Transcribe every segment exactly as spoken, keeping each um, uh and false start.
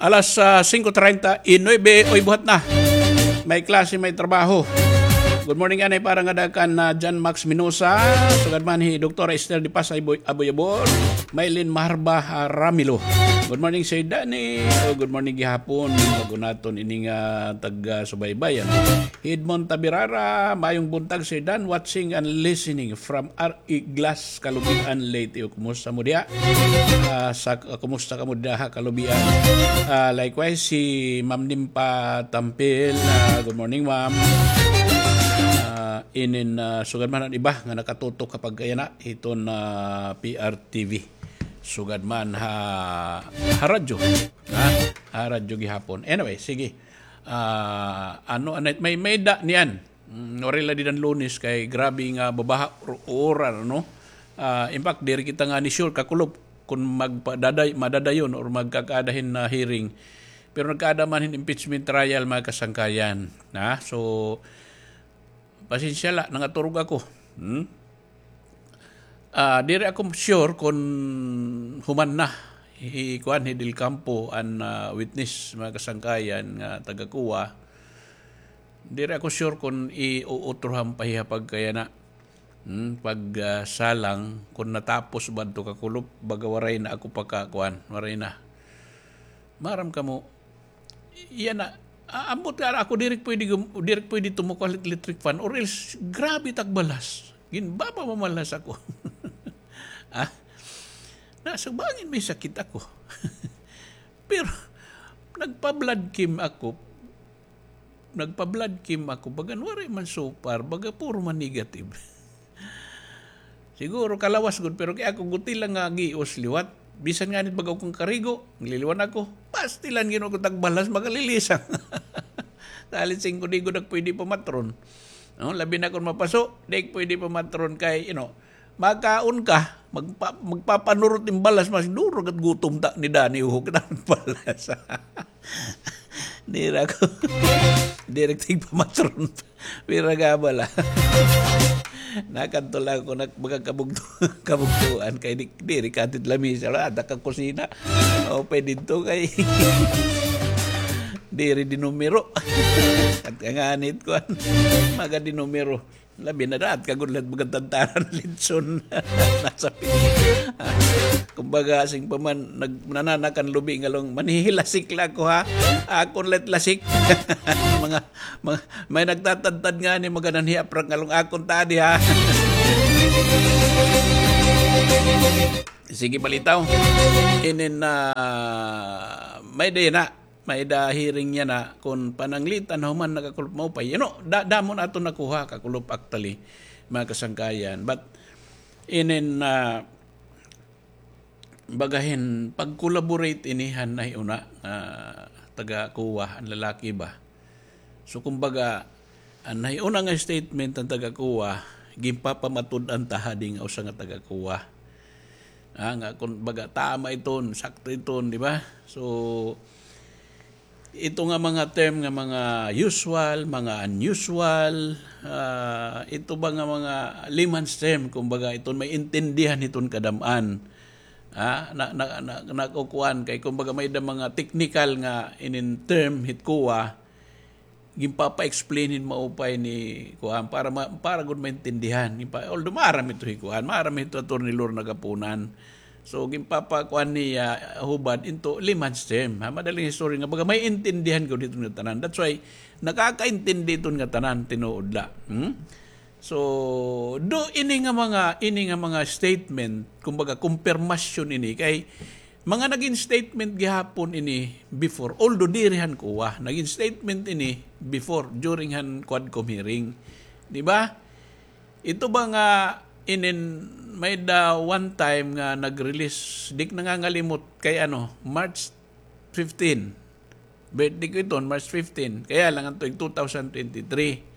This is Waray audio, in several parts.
Alas, ah, singko treinta y nuebe, oy, buhat na. May klase, may trabaho. Good morning anay para ngada kan, ah, John Max Minosa. Sugad man hi Doktora Esther de Paz Aboy-, Aboyabor. Maylin Maharba, ah, Ramilo. Good morning, Sir Danny. Oh, good morning gihapon. Bag-o naton ini nga taga-subaybay, ano? Edmond Tabirara, maayong buntag, Sir Dan, watching and listening from R E Glass, Kalubian, Leyte. O, kumusta mo diha? Ah, sa, ah, kumusta kamo diha, Kalubian? Ah, likewise, si Ma'am Nimpa Tampil. Ah, good morning, Ma'am. Ah, inin, ah, sugad man an iba nga nakatutok kapag kaya na hiton, ah, P R T V. Sugad man ha, ha radyo. Ha? Ha radyo gihapon. Anyway, sige. Ah, ano, ano, may, may da niyan. Mm, waray la dida han Lunes kay grabe nga babaha or-, uran, ano? Ah, in fact, diri kita ngani sure, kakulop, kun magpadaday-, madadayon or magkakaada hin na hearing. Pero nagkaada man hin impeachment trial, mga kasangkayan. Ha? So, pasensya la, nangaturog ako. Hmm? Ah, diri ako sure kun human na hi, kuan, hi Del Campo an, ah, witness, mga kasangkayan nga taga-COA. Diri ako sure kun iuutrohan pa hiya pagkayana. Hmm, pag, ah, salang, kun natapos ba adto kakulop, baga waray na ako pagkakuan, waray na. Maaram kamo, yana, a-, ambot nga ako, diri pwede gum-, diri pwede tumukaw hit electric fan, or else, grabe tagbalas. Ginbaba mamalas ako. Ah? Nasa bangin may sakit ako. Pero, nagpa-blood chem ako. Nagpa-blood chem ako. Bagan, waray man so far. Baga, puro man negative. Siguro kalawas gud, pero kay ako guti lang nga gios liwat. Bisan nganit baga akon karigo, nagliliwan ako. Pastilan, Ginoo ko, tagbalas, makalilisang. Salit singko, di gud ak pwede pamatron. No, labi na kon mapaso, di ak pwede pamatron kay, you know, makaon ka, magpa-, magpapanurot hin balas, mas duro kat gutom ta ni Dani, ho, kita balas. Diri ako. Diri ak tigpamatron. Pira ka bala. Nakadto lang ako, nak-, makakabugto-, kabugtuan kay di, diri ka tit lamisa, wala, ada ka kusina. O, pwede didto kay diri dinumero. At kanganit ko, maga dinumero. Labi na daat ka gud la it baga tantanan litson. Nasa pi-, kumbaga, sing pa man, nag-, nananakan lubi ngalong, manhihilasik la ako, ha? Akon la it lasik. Mga, mga, may nagtatadtad ngani, mga nanhiaprak ngalong akon tadi, ha? Sige, balitaw. Inin, ah, may day na. May da hearing yana kon pananglitan human nakakulop maupay. You know, da-, damo na aton nakuha kakulop actually, mga kasangkayan. But inin, ah, bagahin pag-collaborate ini han nahiuna, ah, taga-COA, an lalaki ba. So, kumbaga, an nahiuna nga statement han taga-COA, ginpapamatud-an ta hadi nga usa nga taga-COA. Ah, nga kon baga tama iton, sakto iton, di ba? So, ito nga mga term nga mga usual, mga unusual, ah, ito ba nga mga layman's term, kumbaga, iton may intindihan hiton kadam-an. Ah, na, na, na, nakukuan kay, kumbaga, may da mga technical nga inin term hit COA, ginpapa-explain hin maupay ni kuan para ma-, para gud maintindihan. Ginpa-, although maaram ito hi kuan, maaram ito Attorney Lorna Gapunan. So, ginpapakuan niya, ah, hubad into layman's term. Ha, madaling istorya nga baga may intindihan gud iton nga tanan. That's why nakakaintindi iton nga tanan, tinuod la. Hmm? So, do ini nga mga, ini nga mga statement, kumbaga, kumpirmasyon ini kay mga nagin statement gihapon ini before, although diri han COA, nagin statement ini before, during han Quadcom hearing. Di ba? Ito ba nga inin may da one time nga nag-release, di ak nangangalimot kay ano, March fifteen. Birthday ko iton, March fifteen. Kaya lang an tuig two thousand twenty-three.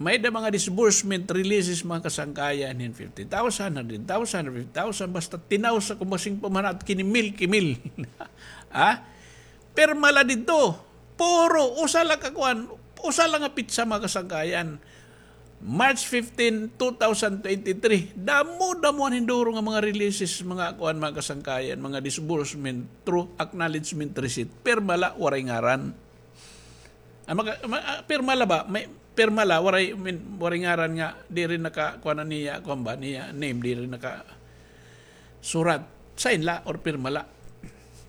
May da mga disbursement releases, mga kasangkayan, hin fifty thousand, hundred thousand, fifty thousand, basta tinaw sa kumasing pamanat, kinimil, kimil. Ha? Pirma la didto. Puro, usa la ka kuan, usa la nga pitsa, mga kasangkayan. March fifteen, two thousand twenty-three, damo-damo an hinduro nga mga releases, mga kuan, mga kasangkayan, mga disbursement through acknowledgement receipt. Pirma la, waray ngaran. Ah, maka-, ma-, ah, pirma la ba? May, pirma la, waray, min-, waray ngaran nga, diri naka, kuan na niya, kuan ba, niya name, diri naka surat. Sign la or pirma la.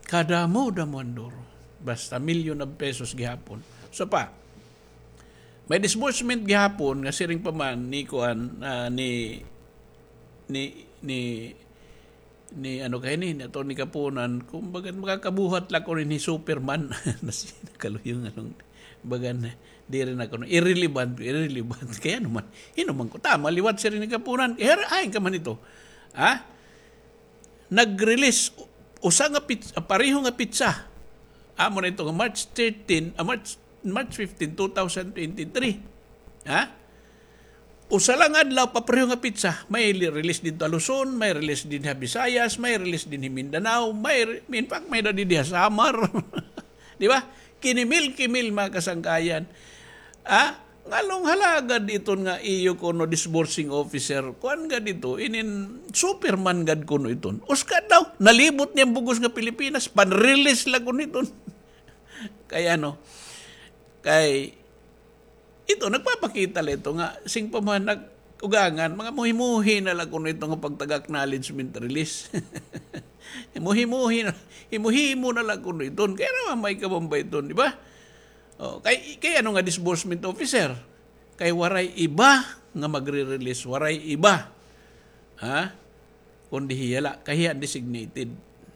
Kadamo-damo an duro. Basta milyon of pesos gihapon. So pa, may disbursement gihapon nga siring pa man ni kuan, ah, ni, ni, ni, ni ano kay ni, ni Attorney Kapunan, kumbaga makakabuhat la kuno ni Superman. Nasi, nakaluyo nga nung, bagan, diri na kuno, irrelevant, irrelevant. Kay ano man, hino man ko, tama, liwat siring ni Kapunan. Kay hara, ay, ka man ito. Ha? Nag-release, usa nga pits-, ah, pareho nga pitsa. Amo na ito nga March thirteen, ah, March, March fifteen, two thousand twenty-three. Ha? Usa lang adlaw, papareho nga pitsa. May li-, release didto ha Luzon, may release dinhi ha Visayas, may release dinhi Mindanao, may re-, in fact, may na dinhi ha Samar. Di ba? Kinimil-kimil, mga kasangkayan. Ah, nganong hala gad iton nga iyo kuno disbursing officer, kuan gad ito, inin Superman gad kuno iton. Usa ka adlaw, nalibot niya an bug-os nga Pilipinas, pan-release la kuno iton. Kay ano, kay ito, nagpapakita la ito nga, sing pa man nag-, ugangan, mga muhimuhi na la kuno ito nga pagtaga acknowledgement release. Muhimuhi na, himuhimo na la kuno iton. Kay ano man may kabamba iton, di ba? Oh, kay, kay ano nga disbursement officer? Kay waray iba nga magre-release, waray iba. Ha? Kundi hiya la, kay hiya an designated.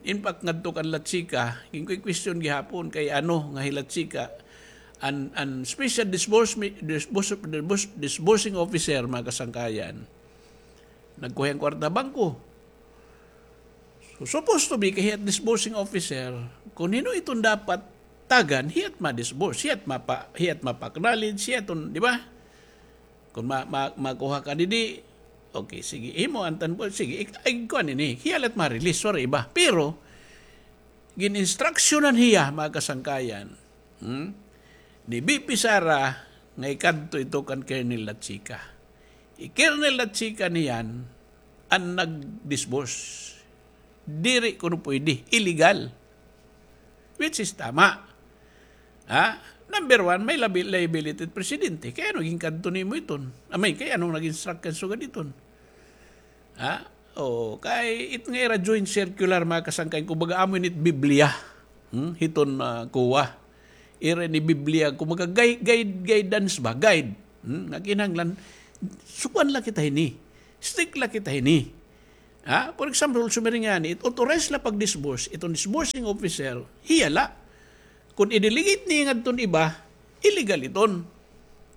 In fact, ngadto kan Latsika, ginkuy question gihapon kay ano nga hi Latsika, an, an special disbursement, disburs-, disburs-, disbursing officer, mga kasangkayan. Nagkuha hin kwarta bangko. So, supposed to be, kay hiya it disbursing officer, kun hin-o iton dapat tagan, hiya it ma-disburse, hiya it mapa-, hiya it mapa-acknowledge, hiya iton, di ba? Kun ma-, ma-, makuha ka didi, okay, sige, imo an tan-, sige, ik-, ay, kuan ini, hiya la it ma-release, sorry, iba. Pero, gin-instructionan hiya, mga kasangkayan, hmm? Ni V P Sara, nga ikadto ito kan Colonel Latsika. I Colonel Latsika niyan an nag-disburse. Diri kuno pwede, illegal. Which is tama. Ha? Number one, may labi-, liability it presidente. Kay ano ginkadto nimo iton? Amay, kay ano nag-instruct kan sugad iton? Ha? O, kay it nga ira joint circular, mga kasangkay, kumbaga, amo ini it Biblia. Hmm? Hiton, ah, COA. Ira ini Biblia, kumbaga, guide, guide, guidance ba? Guide. Hmm? Nga kinahanglan, sukuan la kita hini. Strict la kita hini. Ha? For example, sumiring ngani, it authorized la pag-disburse, iton disbursing officer, hiya la. Kun i-delegate niya ngadton iba, illegal iton.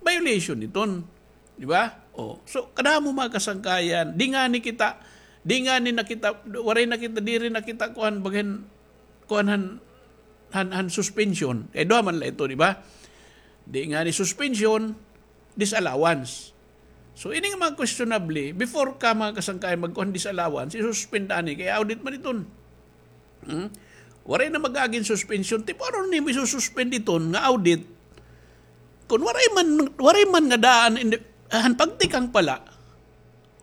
Violation iton. Di ba? O, so, kadamo mga kasangkayan, di ngani kita, di ngani na kita, waray na kita, diri na kita, kuan, baghin, kuan han, han, han suspension. Kay duha man la ito, di ba? Di ngani suspension, disallowance. So, ini nga mga questionable, before ka, mga kasangkayan, magkuan disallowance, isuspend ani, kay audit man iton. Hmm? Waray na mag-agi hin suspension. Tipo, ano nimo isususpend iton nga audit? Kun waray man, waray man nga daan, in the, han pagtikang pa la,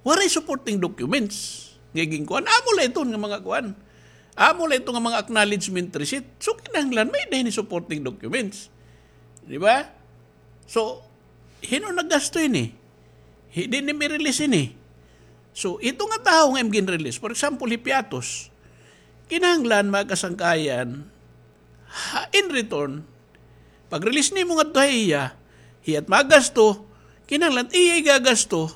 waray supporting documents. Nga ginkuan, amo la iton nga mga kuan. Amo la iton nga mga acknowledgement receipt. So, kinahanglan, may-ada hini supporting documents. Di ba? So, hin-o naggasto hini? Hi-, di nimo i-release hini. So, ito nga tawo nga imo gin-release, for example, hi Piatos, kinahanglan, mga kasangkayan, ha, in return, pag-release nimo ngadto ha iya, hiya it magasto, kinahanglan iya igagasto,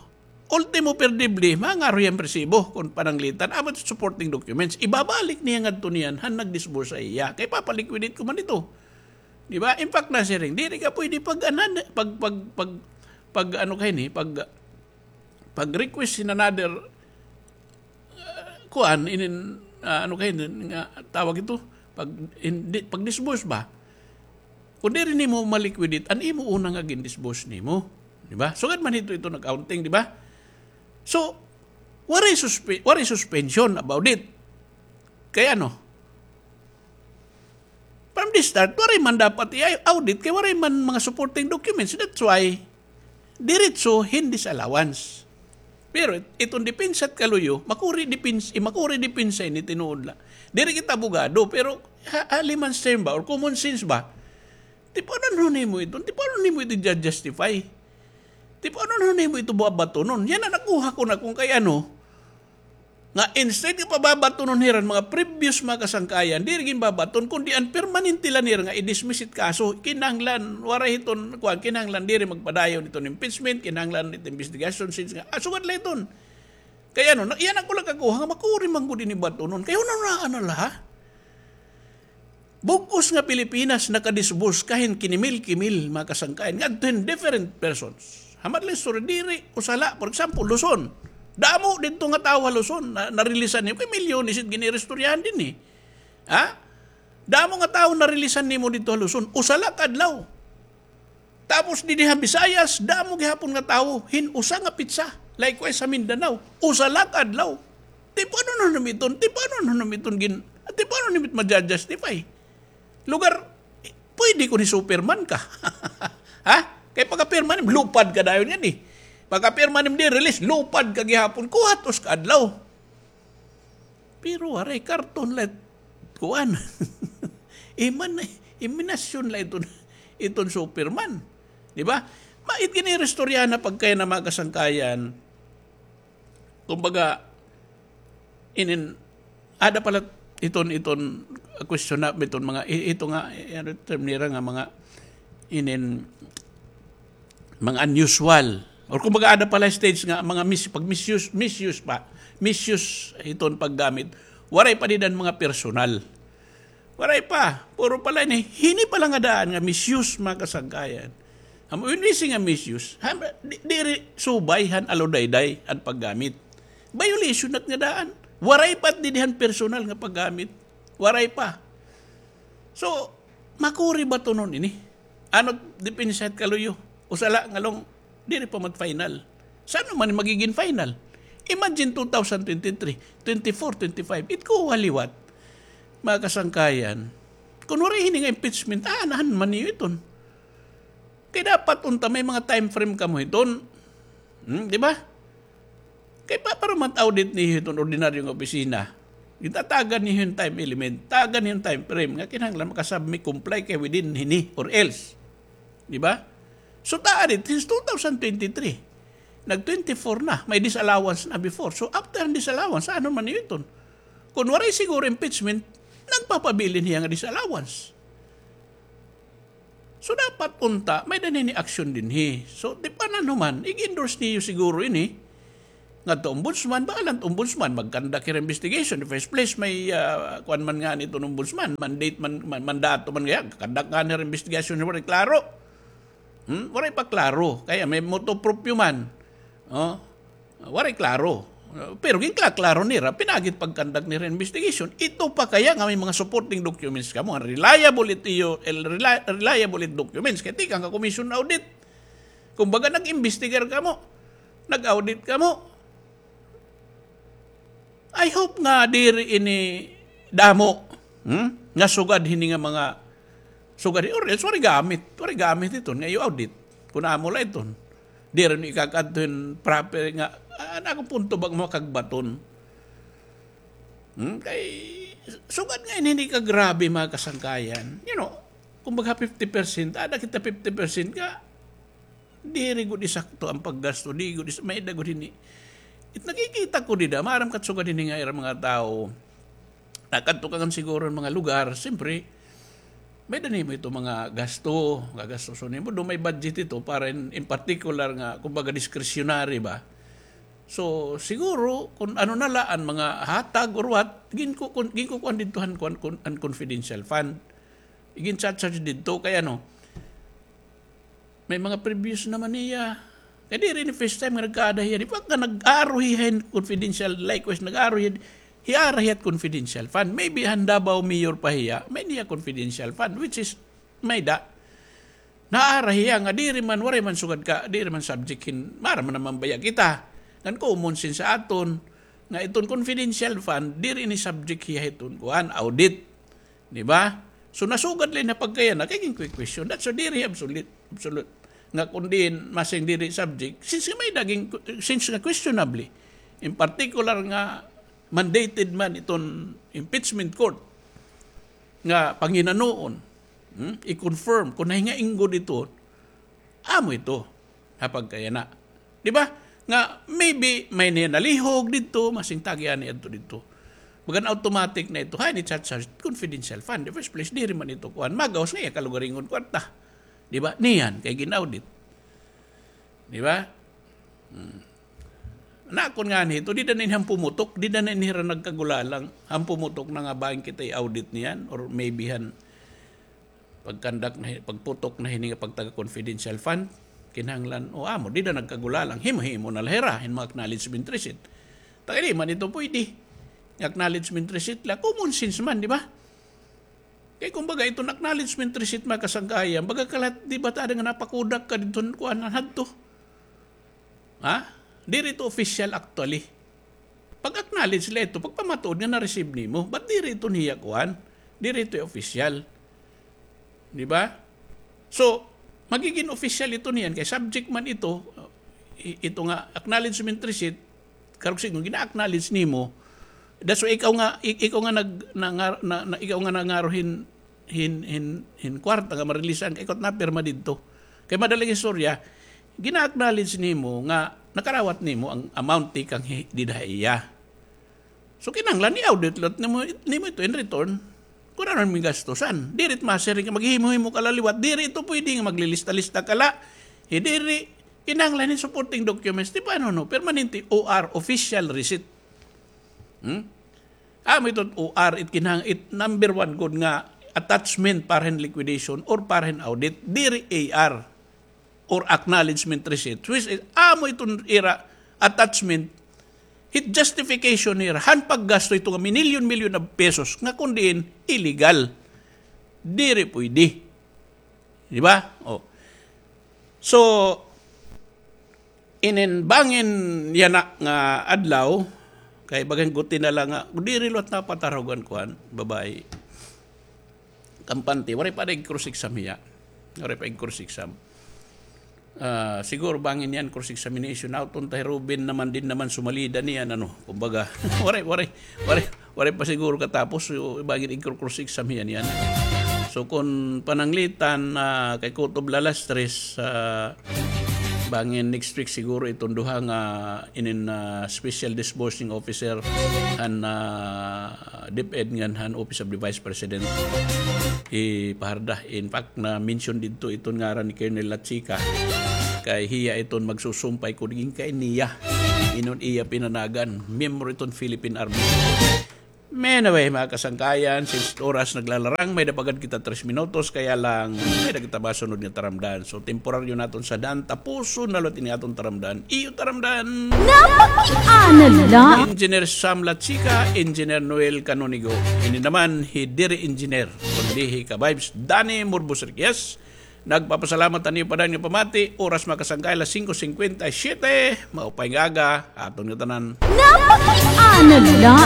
ultimo perdible, mangaro hiya hin resibo kon pananglitan, amo it supporting documents, ibabalik niya ngadto niyan han nag-disburse ha iya. Kay papa-liquidate ko man ito. Di ba? In fact, nasiring, diri ka pwede pag-, anan, pag, pag, pag, pag, ano ka hini, pag, pag-request in another, uh, kuan, inin, uh, ano ka hini, nga tawag ito, pag, in, di, pag-disburse ba? Kun diri nimo ma-liquidate an imo una nga gin-disburse nimo. Di ba? Sugad man hito, ito nag-counting, di ba? So, waray suspe-, waray suspension about it. Kay ano? From the start, waray man dapat i-audit kay waray man mga supporting documents. That's why, diretso hin disallowance. Pero it-, iton depensa it kaluyo, makuri depensa, eh, makuri depensa ini tinuod la. Diri kita abogado, pero ha, ha layman's term ba, or common sense ba? Tipanon nimo iton, tipanon nimo ito i-justify. Tipanon nimo ito babatonon. Yana nakuha ko na kon kay ano, nga instead nga pababatonon hira an mga previous mga kasangkayan, diri ginbabaton, kundi an permanente la nira nga i-dismiss it kaso, kinahanglan, waray hiton, kuan, kinahanglan diri magpadayon iton impeachment, kinahanglan it investigation, since nga, ah, sugad la iton. Kay ano, na, yana ko la kakuha nga makuri man gud ini batonon. Kay hunahunaa na la, ha? Bug-os nga Pilipinas nakadisburse ka hin kinimil-kimil, mga kasangkayan, ngadto hin different persons. Hamat la istorya, diri usa la, for example, Luzon. Damo didto nga tawo ha Luzon na narilisan nimo. Kay milyones it giniristoryahan dinhi. Ha? Damo nga tawo narilisan nimo didto ha Luzon. Usa la ka adlaw. Tapos didi ha Visayas, damo gihapon nga tawo hin usa nga petsa. Likewise sa Mindanao, usa la ka adlaw. Tipanon nimo iton, tipanon nimo iton gin-, tipanon nimo it maja-justify? Lugar, pwede kon hi-Superman ka. Ha? Kay pagkapirma nim, lupad ka dayon ngani. Pagkapirma nim di-release, lupad ka gihapon. Kuhat usa ka adlaw. Pero waray, karton la it kuan. Iman-, iminasyon la iton, iton Superman. Di ba? Ma-, it giniristoryahan na pagkay na mga kasangkayan. Kumbaga, inin, ada pala iton, iton question na, iton mga, i-, ito nga, i-, ano term nira nga mga, inin, mga unusual. Or kumbaga, ada pala stage nga, mga mis-, pag misuse, misuse pa, misuse iton paggamit, waray pa dida an mga personal. Waray pa, puro pala ini, hini pala nga daan nga misuse, mga kasangkayan. Amo ini nga misuse, ha, di, diri subay han aludayday an paggamit. Violation na it nga daan. Waray pa didi han personal nga paggamit. Waray pa. So, makuri batonon ini. Ano, depensa it kaluyo. Usa la nga long, diri pa man final. San-o man magigin final? Imagine two thousand twenty-three, twenty-four, twenty-five. It kuha liwat. Mga kasangkayan, kon waray hini nga impeachment, ah, anahan man niyo iton. Kay dapat unta may mga time frame kamo hiton. Hmm, di ba? Kay pa, para mat-audit niyo hiton ordinaryo nga opisina. Gitatagan niyo hin time element, tagan niyo hin time frame nga kinahanglan makasubmit, comply kay within hini or else. Di ba? So, ta-audit since two thousand twenty-three. Nag twenty-four na, may disallowance na before. So, after an disallowance, ano man iton? Kung waray siguro impeachment, nagpapabilin hiya nga disallowance. So, dapat unta, may-ada hini action dinhi. So, tipanon human, ig-endorse niyo siguro ini. Ngadto ombudsman, bahala it ombudsman, mag-conduct hira investigation. In the first place, may, ah, kuan man ngani iton ombudsman, mandate man, man, mandato man gihap, conduct ngani hira investigation, waray klaro. Hmm? Waray pa klaro. Kay may motu proprio man. Oh? Waray klaro. Pero ginklaklaro nira, pinaagi it pag-conduct nira investigation. Ito pa kaya nga may mga supporting documents kamo, reliable it iyo, el-, reli-, reliable it documents. Kay tikang ka commission audit. Kumbaga, nag-imbestigar kamo. Nag-audit kamo. I hope nga diri ini damo, hmm? Nga sugad hini nga mga, sugad hini, or else, waray gamit. Waray gamit iton nga iyo audit. Kun amo la iton. Diri niyo ikakadto hin proper nga, ah, an akon punto ba nga makagbaton. Hmm? Kay, sugad nga ini, hini kagrabe, mga kasangkayan. You know, kumbaga fifty percent, ada kita fifty percent nga, diri gud isakto an paggasto, di gud is-, may-ada gud hini. It nakikita ko dida, maaram kat sugad hini nga ira mga tawo. Nakadto ka ngan siguro hin mga lugar, siyempre, may-ada nimo ito mga gasto, gagastoson nimo. Do may budget ito para in, in particular nga, kumbaga, discretionary ba? So, siguro, kung ano na la an mga hatag or what, ginku-, kun-, ginkukuan didto han kuan, kun-, an confidential fund. Igin-charge didto kay ano, may mga previous naman niya. Kay diri ini first time nga nagkaada hiya. Di ba ka nag-aro hiya hin confidential, likewise, nag-aro hiya, hiara hiya confidential fund. Maybe han Davao mayor pa hiya, may niya confidential fund, which is, may-ada. Naara hiya nga diri man, waray man sugad ka, diri man subject hin, maaram man naman baya kita. Ngan common sense sa aton, nga iton confidential fund, diri ini subject hiya hiton kuan, audit. Di ba? So, nasugad la ini pagkayana, kay gin-question. That's why diri absolute, absolute. nga kun diin masing diri subject, since nga may-ada gin, since nga questionably, in particular nga mandated man iton impeachment court nga panghinanuon, hmm, i-confirm kun nahingainggod ito, amo ito ha pagkayana. Di ba? Nga maybe may niya nalihog didto, masing tagi ani adto didto. Bagan automatic na ito, ha, ni chat sa confidential fund. The first place, diri man ito kuan. Magawas nga iya kalugaringon kwarta. Di ba? Niyan, kay gin-audit. Di ba? Hmm. Nakon ngani ito, dida na ini han pumutok, dida na ini hira nagkagulalang, han pumutok na nga bangin kita i-audit niyan, or maybe han pagkandak na hi-, pagputok na hini nga pagtaga confidential fund, kinahanglan, o amo, dida nagkagulalang, himo-himo na la hira, hin mga acknowledgement receipt. Tagay di man ito pwede. Nga acknowledgement receipt la, common sense man, di ba? Kay kumbaga, iton acknowledgement receipt, mga kasangkayan, baga ka la, di ba, tada nga napakudak ka didto, kuan, hadto. Ha? Diri ito official actually. Pag-acknowledge la ito, pagpamatuod nga na-receive nimo, but diri ito niya kuan, diri ito official. Di ba? So, magiging official ito niyan, kay subject man ito, i-, ito nga acknowledgement receipt, karog sigon, gina-acknowledge nimo. That's why ikaw nga, ik-, ikaw nga nag-, na, na, na, ikaw nga nangaro hin, hin, hin, hin kwarta nga marilisan, kay ikaw napirma didto. Kay madaling istorya, gina-acknowledge nimo nga nakarawat nimo ang amount tikang hi-, dida ha iya. So, kinahanglan i-audit liwat nimo, nimo ito in return. Kun ano an gastusan. Diri it masiring nga maghimo-himo ka la liwat. Diri ito pwede nga maglilista-lista ka la. Hi diri, kinahanglan hin supporting documents. Di ba, ano, no? Permanente O R, official receipt. Hmm? Amo ito O R, it kinahang-, it number one gud nga attachment para hin liquidation or para hin audit. Diri A R or acknowledgement receipt, which is, amo iton ira attachment, hit justification nira, han paggasto ito nga minilyon-milyon of pesos, nga kun diin illegal. Diri pwede. Di ba? Oh. So, inin bangin yana nga adlaw, kay bagan guti na la nga, diri liwat napatarog an kuan, babaye. Kampante, waray pa ig-cross-exam hiya. Waray pa ig-cross-exam. Ah, siguro bangin yan, cross-examination. Out on tayo, Ruben naman din naman sumalida niyan, ano, kumbaga. Waray, waray, waray, waray pa siguro katapos, so, bangin ig-cross-exam hiya niyan. So, kung pananglitan, ah, kay Kutob Lalastres, ah, bangin next week siguro iton duha nga inin, ah, special disbursing officer han, ah, DepEd ngan han Office of the Vice President ipaharda. In fact, na-mention didto iton ngaran ni Colonel Lachica. Kay hiya iton magsusumpay kun ginkay niya. Inon iya pinanagan, miyembro iton Philippine Army. Anyway, mga kasangkayan, since oras naglalarang, may-ada pa gad kita tres minutos, kaya lang, may-ada kita masunod nga taramdan. So, temporaryo naton sadaan, tapuson na liwat ini aton taramdan. Iyo taramdan. Napakiana la. Engineer Sam Lachica, Engineer Noel Canonigo. Ini naman, hi diri engineer, kundi hi ka-vibes Danny Murbos Riquez. Nagpapasalamat han iyo pa dayon nga pamati. Oras, mga kasangkay, alas singko singkwenta y siyete. Maupay nga aga ha aton ngatanan. Napakiana la.